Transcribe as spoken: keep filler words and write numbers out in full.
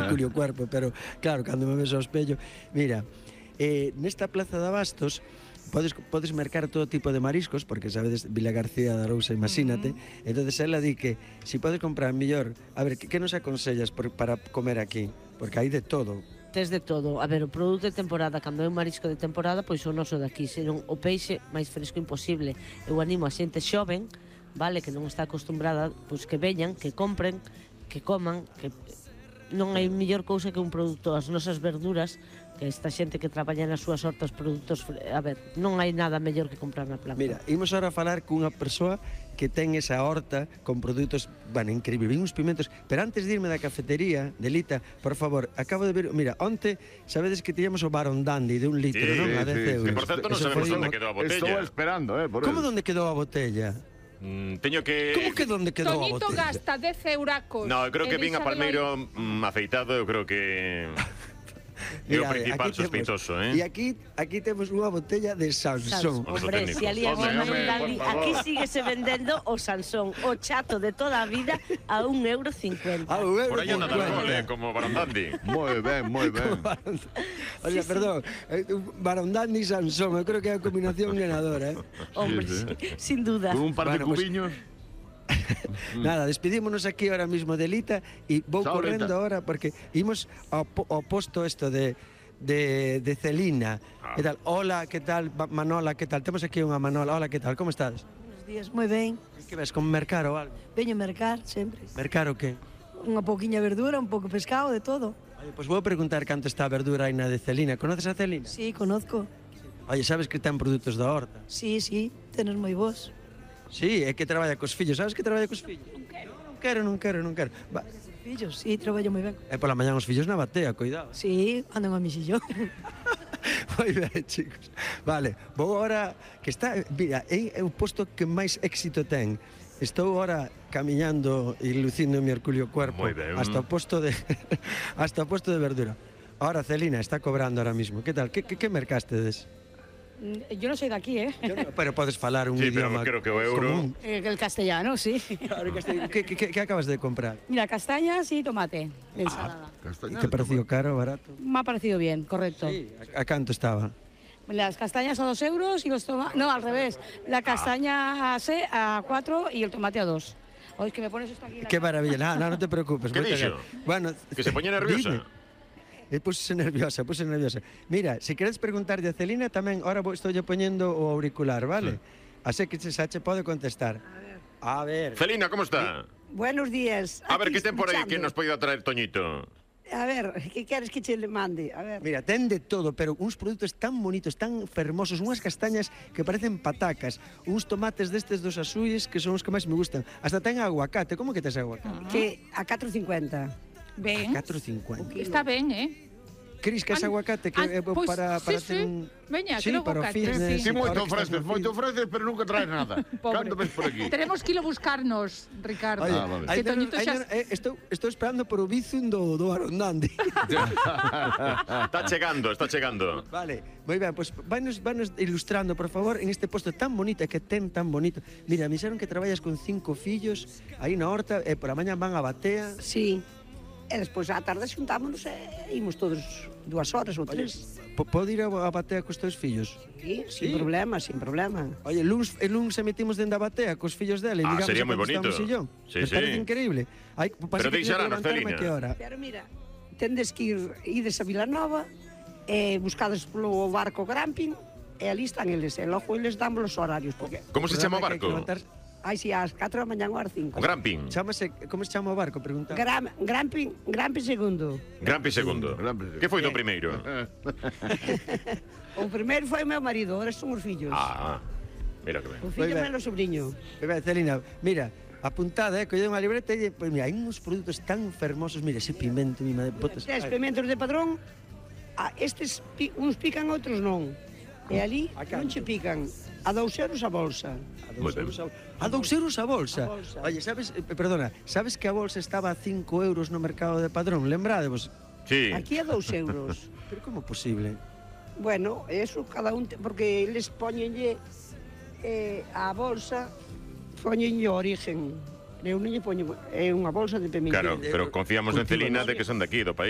Mercurio Cuerpo, pero claro, cando me ves ao espello, mira, eh, nesta plaza de Abastos podes, podes mercar todo tipo de mariscos, porque sabedes, Vila García de Arousa, imagínate, uh-huh. entonces ela di que si podes comprar mellor, a ver, que, que nos aconsellas por, para comer aquí? Porque hai de todo. Tes de todo. A ver, o produto de temporada, cando é un marisco de temporada, pois o noso daqui, senón o peixe máis fresco imposible. Eu animo a xente xoven, vale, que non está acostumbrada, pois que veñan, que compren, que coman, que non hai mellor cousa que un produto, as nosas verduras, que esta xente que traballa nas súas hortas produtos, a ver, non hai nada mellor que comprar na plaza. Mira, imos ahora a falar cunha persoa que ten esa horta con produtos, bueno, increíble, vin uns pimentos, pero antes de irme da cafetería, Delita, por favor, acabo de ver, mira, onte, sabedes que tiñamos o Baron Dandy de un litro, sí, non? A dez euros. Que, por certo, non sabemos onde quedou a botella. Estou esperando, eh, por Como onde quedou a botella? Mm, teño que... Como que onde quedou a botella? Toñito gasta dez euracos. No, eu creo que vin a Palmeiro mm, afeitado, eu creo que... É o principal sospeitoso, eh? E aquí aquí temos unha botella de Sansón. Hombre, se ali aquí síguese vendendo o Sansón, o chato de toda a vida a un euro cincuenta. A un euro Por aí anda Dargole, como Baron Dandy. Moi ben, moi ben. Oye, perdón, Baron Dandy y Sansón, eu creo que é a combinación ganadora, eh? Hombre, sin duda. Con un par de Bueno, pues, cubiños. Nada, despedímonos aquí ahora mismo de Lita e vou Chao, correndo Lita. ahora porque imos ao, po- ao posto esto de, de, de Celina. Ah. Que tal? Hola, que tal? Ba- Manola, que tal? Temos aquí unha Manola. Hola, que tal? Como estás? Buenos días, moi ben. Que ves, con mercar ou algo? Veño mercar sempre. Mercar o que? Unha pouquiña verdura, un pouco pescado, de todo. Oye, pois pues vou preguntar canto está a verdura aí na de Celina. Conoces a Celina? Sí, conozco. Oye, sabes que ten produtos da horta? Sí, sí, tenos moi vos. Sí, é que traballa cos fillos. Sabes que traballa cos fillos? Non quero. Non quero, non quero, non quero. Va. Fillos, sí, traballo moi ben. E pola mañá os fillos na batea, cuidado. Sí, andan a mixillón. Moi ben, chicos. Vale, vou agora, que está, mira, é o posto que máis éxito ten. Estou agora camiñando e lucindo o Mercurio Cuerpo Moi ben. hasta o posto de hasta o posto de verdura. Ahora Celina está cobrando ahora mismo. Que tal? Que, que, que mercastedes? Yo no soy de aquí, ¿eh? Yo no, pero podes falar un Sí, pero idioma creo que o euro... común. Eh, El castellano, sí. Claro, que, este- que, que, que acabas de comprar? Mira, castañas y tomate de ensalada. Castañas, ¿Te pareció caro o barato? Me ha parecido bien, correcto. Sí. ¿A, a canto estaba? Las castañas a dos euros y los tomates... No, al revés. La castaña a, se, a cuatro y el tomate a dos. Oye, que me pones esto aquí... en la Qué cara. maravilla. No, no, no te preocupes. ¿Qué moita dixo? gra- Bueno, Que se poña nerviosa. Dime. Eh, pusese nerviosa, puse nerviosa. Mira, se queres preguntarlle a Celina tamén, ahora vou estou poñendo o auricular, vale? Sí. Así que xa che pode contestar. A ver. Celina, como está? Buenos días. A ver, Aquí que ten por aí que escuchando. nos pode traer Toñito. A ver, que queres que che le mande? A ver. Mira, ten de todo, pero uns produtos tan bonitos, tan fermosos, unhas castañas que parecen patacas, uns tomates destes dos azuis que son os que máis me gustan. Hasta ten aguacate, como que tes aguacate? Que a catro cincuenta. Ben, catro cincuenta. está ben, eh? Cris, que es An- aguacate que an- é pois, para, para sí, ter sí. un... Veña, sí, quero para o aguacate, fitness. sí. Sí, moito ahora que estás ofreces, no moito fitness. ofreces, pero nunca traes nada. Pobre. Cando ves por aquí? Tenemos que ir a buscarnos, Ricardo. Oye, Ah, vale. aí Que tenos- Toñito aí xa... tenos- eh, estou, estou esperando por o bizum do, do Arondandi. Está chegando, está chegando. Vale, moi ben, pois pues, vanos, vanos ilustrando, por favor, en este posto tan bonito, e que ten tan bonito. Mira, me dixeron que traballas con cinco fillos aí na horta, e por a mañá van a batea. Sí. E despois á tarde xuntámonos e imos todos dúas horas ou tres. Po- Pode ir a a batea cos teus fillos? Sí, sin Sí. problema, sin problema. Oye, luns, e luns se metimos dentro da batea cos fillos dela e Ah, miramos sería a moi cando bonito. estamos sillón. Sí, Me sí. parece increíble. Hai, Pero deixarán a Celina. que hora? Pero mira, tendes que ir, ides a Vilanova e buscades polo barco Gramping e ali están eles, e logo eles damos os horarios. Porque, Como se chama o Programa que hai que barco? levantar- ai, si, ás catro da mañá ou ás cinco. O Gramping. Chámase, como se chama o barco? Pregunta. Gram, Gramping, Gramping segundo. Grampi segundo. Grampi. Que foi do primeiro? O primeiro foi o meu marido, ahora son os fillos. Ah, mira que ben. O fillo Moi ben. menos o sobrinho. Bebe, Celina, mira, apuntada, eh, collei unha libreta e, pois mira, hai uns produtos tan fermosos, mira, ese pimento, mi madre, botas. Tes pimentos de padrón, a estes pi, uns pican, outros non. E ali A non canto? che pican. A dous euros a bolsa. A Moi dous ben. euros a, a dous euros a bolsa. A bolsa. Oye, sabes, eh, perdona, sabes que a bolsa estaba a cinco euros no mercado de Padrón? Lembrádevos? Sí. Aquí a dous euros. Pero como posible? Bueno, eso cada un, te, porque eles poñenlle eh, a bolsa, poñenlle o origen. Eu non lle poño, é unha bolsa de pimiento. Claro, pero confiamos en Celina de que son de aquí, do país.